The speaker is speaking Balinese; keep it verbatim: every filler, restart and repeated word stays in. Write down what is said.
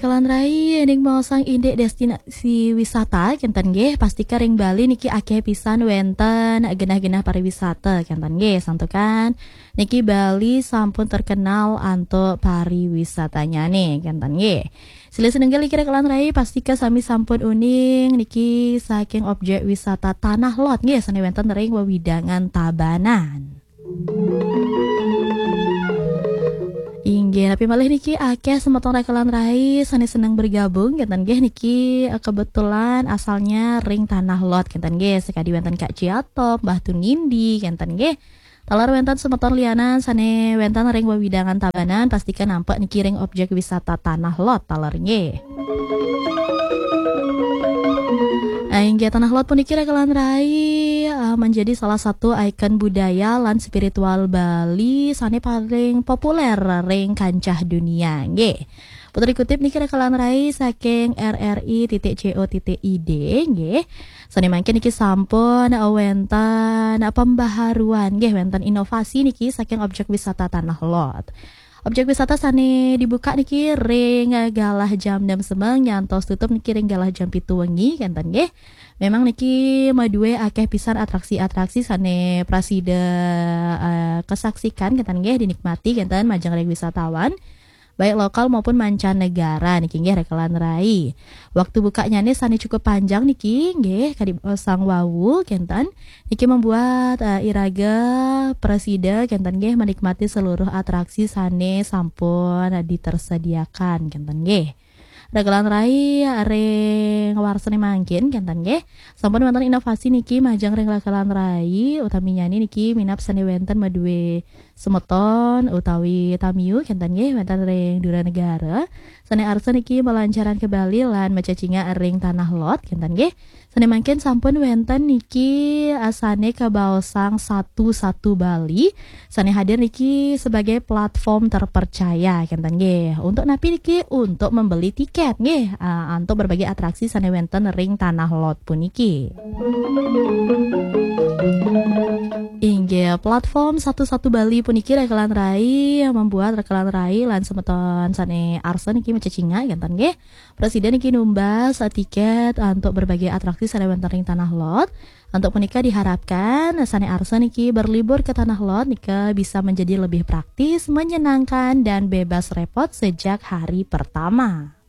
Kalan rai, ning maosang indik destinasi wisata kenten nggih, pastika ring Bali niki akeh pisan wenten genah-genah pariwisata kenten nggih, santukan niki Bali sampun terkenal antuk pariwisatanyane kenten nggih. Silih sinunggil niki ring kalan rai, pastika sami sampun uning niki saking objek wisata Tanah Lot nggih, sane wenten ring wewidangan Tabanan. Inggih, napi malih niki akeh semeton ring kalan rai sane seneng bergabung kenten nggih niki, eh, kebetulan asalnya ring Tanah Lot kenten nggih, sekadi wenten Kak Ciato, Mbah Tunindi kenten nggih. Taler wenten semeton lianan sane wenten ring wewidangan Tabanan, pastika nampek niki ring objek wisata Tanah Lot taler nggih. Inggih, Tanah Lot puniki ring kalan rai, eh, menjadi salah satu ikon budaya lan spiritual Bali sane paling populer ring kancah dunia nggih. Puter dikutip niki ring kalan rai saking R R I titik C O titik I D nggih. Sane mangkin niki sampun, eh, wenten, eh, pembaharuan nggih, wenten inovasi niki saking objek wisata Tanah Lot. Objek wisata sane dibuka niki ring, eh, galah jam enam semeng nyantos tutup niki ring galah jam pitu wengi kenten nggih. Memang niki madue akeh pisan atraksi-atraksi sane prasida, eh, kesaksikan kenten nggih, dinikmati kenten majeng ring wisatawan, baik lokal maupun mancanegara niki nggih ring kalan rai. Waktu bukanyane sane cukup panjang niki nggih, kadi sang wau kenten. Niki membuat, eh, iraga prasida kenten nggih menikmati seluruh atraksi sane sampun ditersediakan kenten nggih. Ring kalan rai ring warsane mangkin kenten nggih. Sampun wenten inovasi niki majeng ring ring kalan rai, utaminyane niki minab sane wenten madue semeton utawi tamiu kenten nggih, wenten ring dura negara. Sane arsa niki melancaran ke Bali lan macacingak ring Tanah Lot kenten nggih. Sane mangkin sampun wenten niki, eh, sane kabaosang Satu Satu Bali. Sane hadir niki sebagai platform terpercaya kenten nggih. Untuk napi niki? Untuk membeli tiket nggih, eh, untuk berbagai atraksi sane wenten ring Tanah Lot puniki. Inggih, platform Satu Satu Bali puniki ring kalan rai membuat ring kalan rai lan semeton sane arsa niki macacingak kenten nggih. Prasida niki numbas tiket untuk berbagai atraksi sane wenten ring Tanah Lot. Untuk punika diharapkan sane arsa niki berlibur ke Tanah Lot nika bisa menjadi lebih praktis, menyenangkan, dan bebas repot sejak hari pertama.